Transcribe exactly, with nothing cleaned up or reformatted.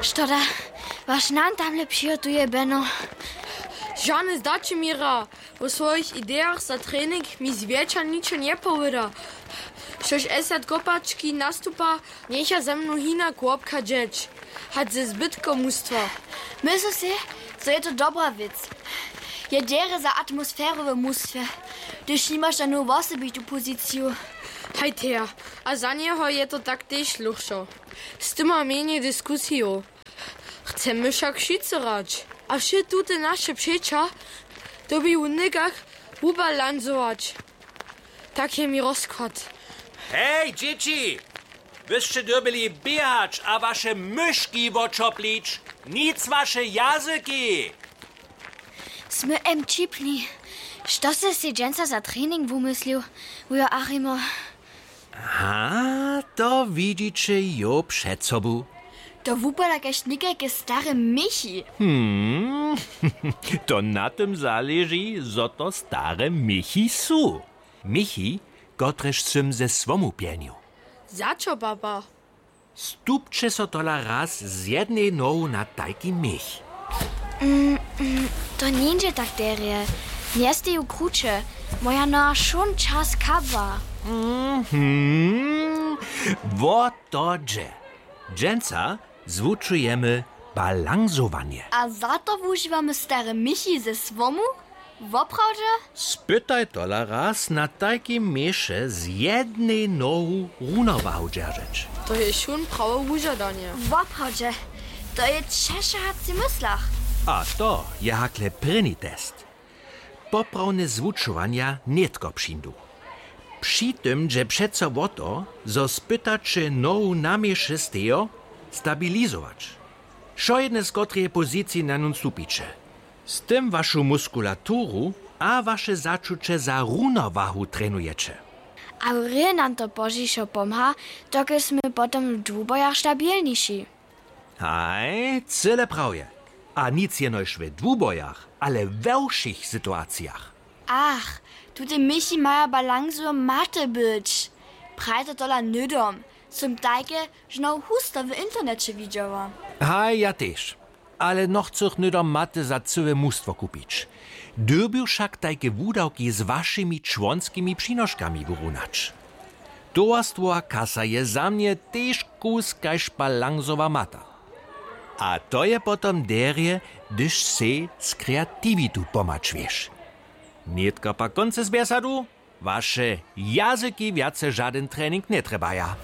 Što da, waš nan tamle přihotuje, Beno? Žane zdaće mi ra. Wo swojich idejach za trening mi zwjetša ničo njepowyda. Štož esat kopački nastupa, njecha ze mnu hinak wobchadźeć hač ze zbytkom mustwa. Myslu sej, zo je to dobra wěc. Je derje za atmosferu w mustwje, hdyž nimaš žanu wosebitu poziciju. Hajteja, a za njeho je to tak tež luchšo. Z tym ma mjenjej diskusijow. Chcemy wšak wšitcy hrać, a wše tute naše přeća dyrbi w někach wubalansować. Tak je mi rozkład. Hej, dźěći! Wy sće dyrbjeli běhać a waše myški woćoplić, nic waše jazyki. Smy em čipni. Što sy sej dźensa za trening wumyslił, wujo Achimo? Ha, to widźiće jo před sobu. To wupada kaž někajke stare měchi. Hmm. To na tym zaleži, zo to stare měchi su. Měchi, kotrež sym ze słomu pjenił. Za čo, papa? Stupće so tola raz z jednej nohu na tajki měch. To njeńdźe tak derje. Njesteju kruće. Moja noha wšón čas kabła. Mhm. Wo to dźe. Dźensa zwučujemy balansowanje. A za to wužiwamy stare měchi ze słomu? Woprawdźe? Spytaj tola raz na tajkim měše z jednej nohu runowahu dźeržeć. To je wšón prawe wužadanje. Woprawdźe. To je ćeše hač w myslach. A to je hakle prěni test. Poprawne zwučowanja nětko přińdu. Při tym dźe přeco wo to, zo spytaće nohu na měše stejo stabilizować, wšojedne z kotreje poziciji na nun stupiće. Z tym wašu muskulaturu a waše začuće za runowahu trenujeće. A wrě nam to pozdźišo pomha, dokelž smy potom w dwubojach stabilniši. Haj, cyle prawje. A nic jenož w dwubojach, ale we wšěch situacijach. Ach, tute měchi maja balansu maty być. Prajte tola hnydom. Sym tajke žno husto w interneće widźała. Haj, ja tež. Ale nochcych hnydom maty za cyłe mustwo kupić. Dyrbju wšak tajke wudawki z wašimi čłonskimi přinoškami wurunać. Towarstwowa kasa je za mnje tež kus kaž balansowa mata. A to je potom derje, hdyž sej z kreatiwitu pomačwješ. Nětka pak koncy z bjesadu. Waše jazyki wjace žadyn trening njetrjebaja.